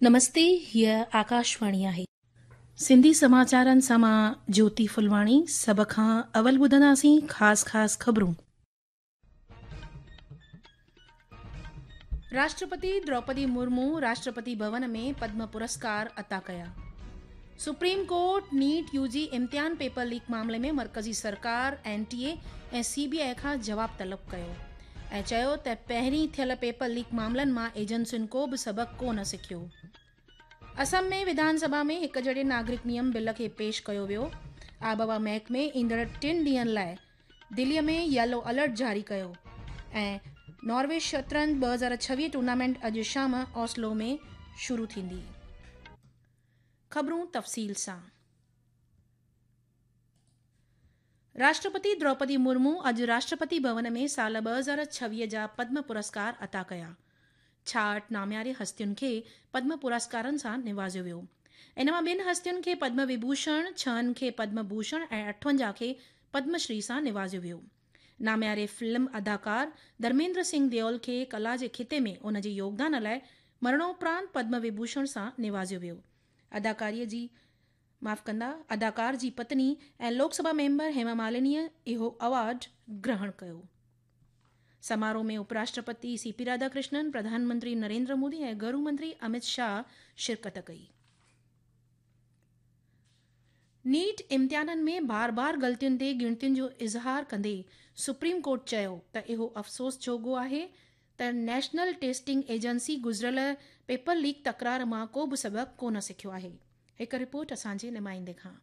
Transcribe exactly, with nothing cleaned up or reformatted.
نمستي، هيء آڪاشواڻي آهي. سنڌي سماچارن سان مان جيوتي ڦلواڻي. سڀ کان اول ٻڌنداسين خاص خاص خبرون. راشٽرپتي دروپدي مرمو راشٽرپتي ڀون ۾ پدم پرسڪار عطا ڪيا. Supreme court NEET U جي امتحان پيپر ليڪ معاملي ۾ مرڪزي سرڪار، N T A ۽ C B I کان جواب طلب ڪيو ۽ چيو ته پهرين ٿيل پيپر ليڪ معاملن مان ايجنسين ڪو به سبق ڪو نه سکيو. اسم ۾ وڌان سڀا ۾ هڪ جهڙي ناگرڪ نيم بل کي پيش ڪيو ويو. آبهوا محڪمي ايندڙ ٽن ڏينهن لاء دلي ۾ ييلو الرٽ جاري ڪيو ۽ ناروي شطرنج ٻه هزار ڇويهه ٽورنامينٽ اڄ شام اوسلو ۾ شروع ٿيندي. خبرون تفصيل سان. راشٽرپتي دروپدي مرمو اڄ راشٽرپتي ڀون ۾ سال ٻه هزار ڇويهه جا پدم پرسڪار عطا ڪيا. ڇاهٺ نامياري هستين کي پدم پرسڪارن سان نوازيو ويو. ان مان ٻن هستين کي پدم وڀوشڻ، ڇهن کي پدم ڀوشڻ ۽ اٺونجاهه کي پدم شري سان نوازيو ويو. نامياري فلم اداڪار ڌرميندر سنگهه ديول کي ڪلا جي خطي ۾ ان جي يوگدان لاء مرڻوپرانت پدم وڀوشڻ سان نوازيو ويو. اداڪاريء جي معاف ڪندا اداڪار جي پتني ۽ لوڪ سڀا ميمبر هيما مالنيء اهو ايوارڊ گرهڻ ڪيو. سماروهه ۾ اپراشٽرپتي سي پي راڌاڪرشنن، پرڌان منتري نريندر مودي ۽ گهرو منتري امت شاهه شرڪت ڪئي. نيٽ امتحانن ۾ بار بار غلطين تي ڳڻتين جو اظهار ڪندي سپريم ڪورٽ چيو ته اهو افسوس جوڳو آهي ته نيشنل ٽيسٽنگ ايجنسي گذريل پيپر ليڪ تڪرار مان ڪو به سبق ڪونه سکيو آهي. هڪ رپورٽ اسان جي نمائندي کان.